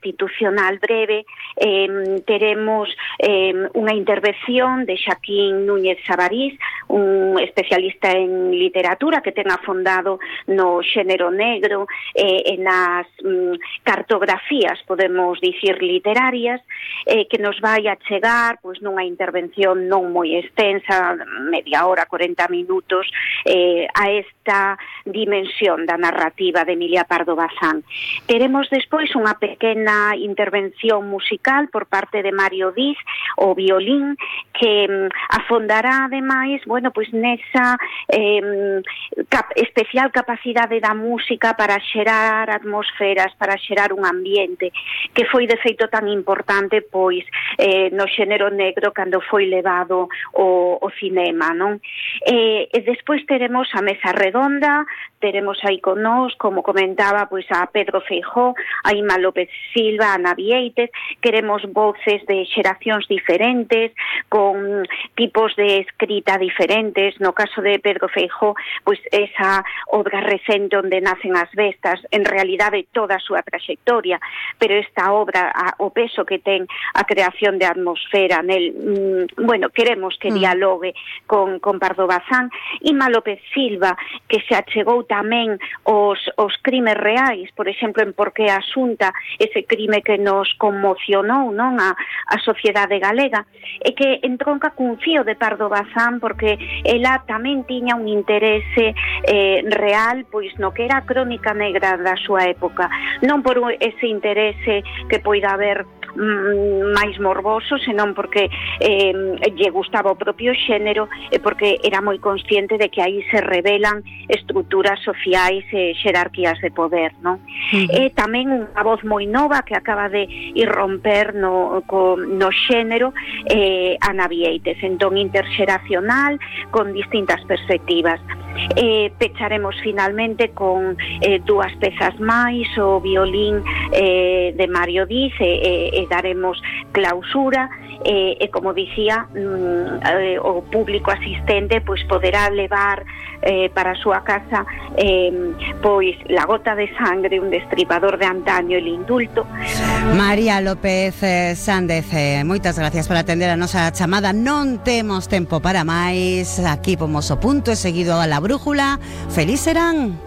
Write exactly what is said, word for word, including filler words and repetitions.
institucional breve, eh, teremos eh, unha intervención de Xaquín Núñez Sabarís, un especialista en literatura que ten afondado no xénero negro e eh, nas mm, cartografías, podemos dicir, literarias, eh, que nos vai a chegar pois, nunha intervención non moi extensa, media hora, corenta minutos, eh, a esta dimensión da narrativa de Emilia Pardo Bazán. Teremos despois unha pequena intervención musical por parte de Mario Diz, o violín, que mm, afondará ademais, bueno, pois nesa eh, cap especial capacidade da música para xerar atmosferas, para xerar un ambiente, que foi de feito tan importante pois eh, no xénero negro cando foi levado o, o cinema, non? E, e despois teremos a mesa redonda, teremos aí con nós, como comentaba, pois a Pedro Feijóo, a Ima López Silva, a Ana Vieites, queremos voces de xeracións diferentes, con tipos de escrita diferentes. No caso de Pedro Feijóo, pois esa obra recente onde nacen as bestas, en realidade toda a súa traxectoria, pero esta obra, a, o peso que ten a creación de atmosfera nel, mm, bueno, queremos que dialogue con, con Pardo Bazán. Ima López Silva, que se achegou tamén os, os crimes reais, por exemplo, en Porque a Xunta, ese crime que nos conmocionou, non, a, a sociedade galega, e que entronca cun fío de Pardo Bazán, porque ela tamén tiña un interese eh, real, pois no que era a crónica negra da súa época, non por ese interese que poida haber máis morboso, senón porque eh, lle gustaba o propio xénero e porque era moi consciente de que aí se revelan estruturas sociais e xerarquías de poder, non? Uh-huh. E tamén unha voz moi nova que acaba de irromper no, co, no xénero, eh, Ana Vieites, entón interxeracional, con distintas perspectivas. Eh, pecharemos finalmente con eh, dúas pezas máis, o violín eh, de Mario Diz, e, e, e daremos clausura, e, e como dicía, mm, eh, o público asistente pois poderá levar eh, para a súa casa eh, pois La gota de sangre, un destripador de antaño, El indulto. María López eh, Sández, eh, moitas gracias por atender a nosa chamada. Non temos tempo para máis. Aquí pomos o punto e seguido a la brújula. Feliz serán.